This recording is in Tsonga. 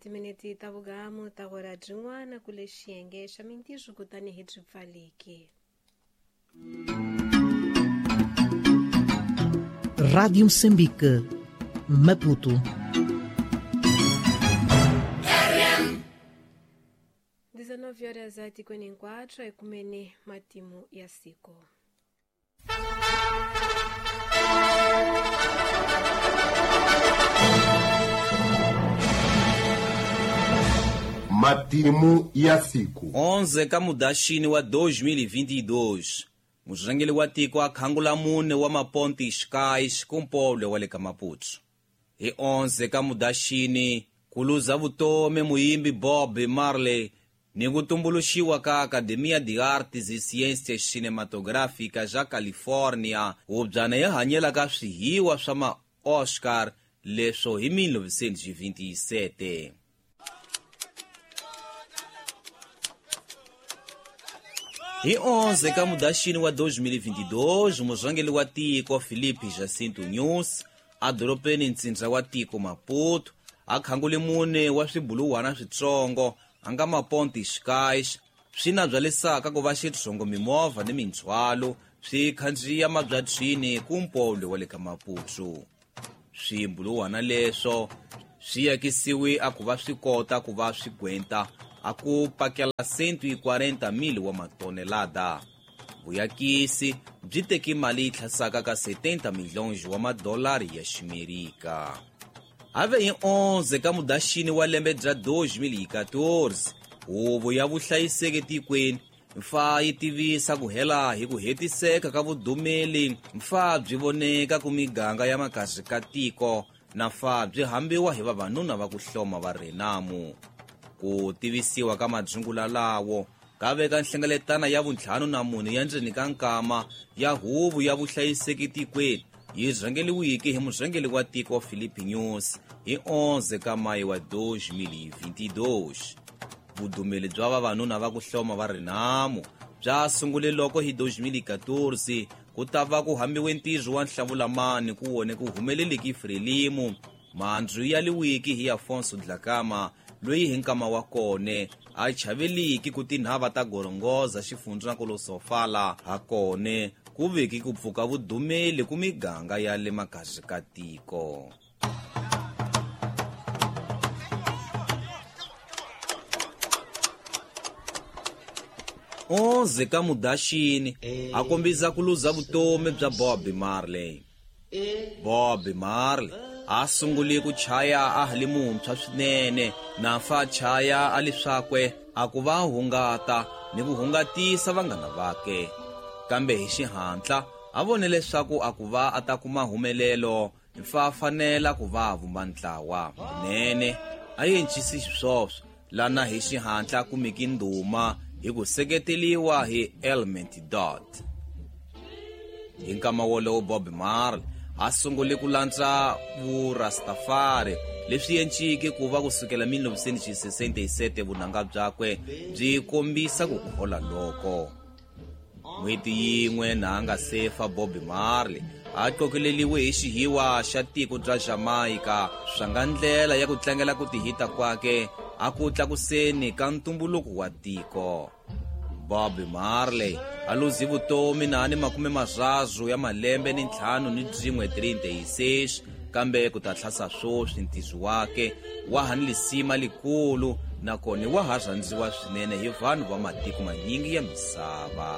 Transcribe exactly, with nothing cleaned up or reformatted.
timinete ta vugamu ta hora byin'wana kule xiyenge xa mintirho kutani hi byi pfaleki. Rádio Moçambique, Maputo. dezenove horas e cinquenta e quatro ekumene matimu ya siku. Matimu ya siku. onze ka Mudaxini wa dois mil e vinte e dois. Murhangeri wa tiko a khangula mune wa maponti xikais kumpole wa le ka Maputo. Hi onze ka Mudaxini ku luza vutomi muyimbi Bob Marley ni ku tumbuluxiwa ka Academia de Artes e Ciências Cinematográficas ya California, hubyana ya hanyelaka swihiwa swa ma-Oscar leswo hi mil novecentos e vinte e sete. Hi onze ka Mudaxini wa dois mil e vinte e dois, murhangeri wa tiko Filipe Jacinto Nyusi a doropeni ntsindza wa tiko Maputo a khangule mune wa swibuluwana switsongo a nga maponti xikais swi na byalisaka ku va xitsongo mimovha ni mindzhwalo swi khandziya mabyatswini kumpole wa le ka Maputo. Swibuluwana leswo swi yakisiwe a ku va swi kota ku va swi gwenta a ku pakela cento e quarenta mil wa matonelada. Vuyakisi byi teki mali yi tlhasaka ka setenta milhões wa madolari ya Ximerika. Ave hi onze ka Mudaxini wa lembe bya dois mil e quatorze, huvo ya vuhlayiseki tikweni mfa yi tivisa ku hela hi ku hetiseka ka vudumeli mfa byi voneka ku miganga ya makazi ka tiko na fa byi hambiwa hi vavanuna va ku hloma va Renamu. Ku tivisiwa ka madzungula lawo ka veka nhlengeletano ya vuntlhanu na mune ya ndzeni ka nkama ya huvo ya vuhlayiseki tikweni yi rhangeriweke hi murhangeri wa tiko Filipe Nyusi hi onze ka Mayi wa dois mil e vinte e dois. Vudumeli bya vavanuna va ku hloma va Renamu bya sungule loko hi dois mil e quatorze ku ta va ku hambiwe ntirho wa nhlavulamani ku wone ku humeleleki Frelimo mandzu ya liwiki hi Afonso Dhlakama loyi hi nkama wa kone a chaveliki ku tinhava ta gorongoza xifundza na Sofala ha kone ku veki ku pfuka vudumeli ku miganga ya le makazi ka tiko. onze ka Mudaxini a kombisa ku luza vutomi bya Bob Marley. Bob Marley a sungule ku chaya a ha li muntshwa swinene na fa chaya a li swakwe a ku va hungata ni ku hungatisa vanghana vake. Kambe hi xihatla a vone leswaku a ku va a ta kuma humelelo fa fanela ku va vumba ntlawa kunene a yencisi xiswoswo lana hi xihatla kumiki ndhuma hi ku seketeliwa hi Element Dot. Hi nkama wolowo Bob Marley a sungule ku landza vurastafari leswi yenciki ku va kusukela mil novecentos e sessenta e sete vunanga byakwe byi kombisa ku khola loko. N'hweti yin'we na a nga sefa Bob Marley a qokeleliwe hi xihiwa xa tiko bya Jamaica swa nga ndlela ya ku tlangela ku tihita kwake a ku tlakuseni ka ntumbuluko wa tiko. Bob Marley a luzi vutomi na ni makume marharu ya malembe ni ntlhanu ni byin'we trinta e seis kambe ku ta tlhasa swoswi ntirho wake wa ha ni lisima likulu nakona wa ha rhandziwa swinene hi vanhu va matiko manyingi ya misava.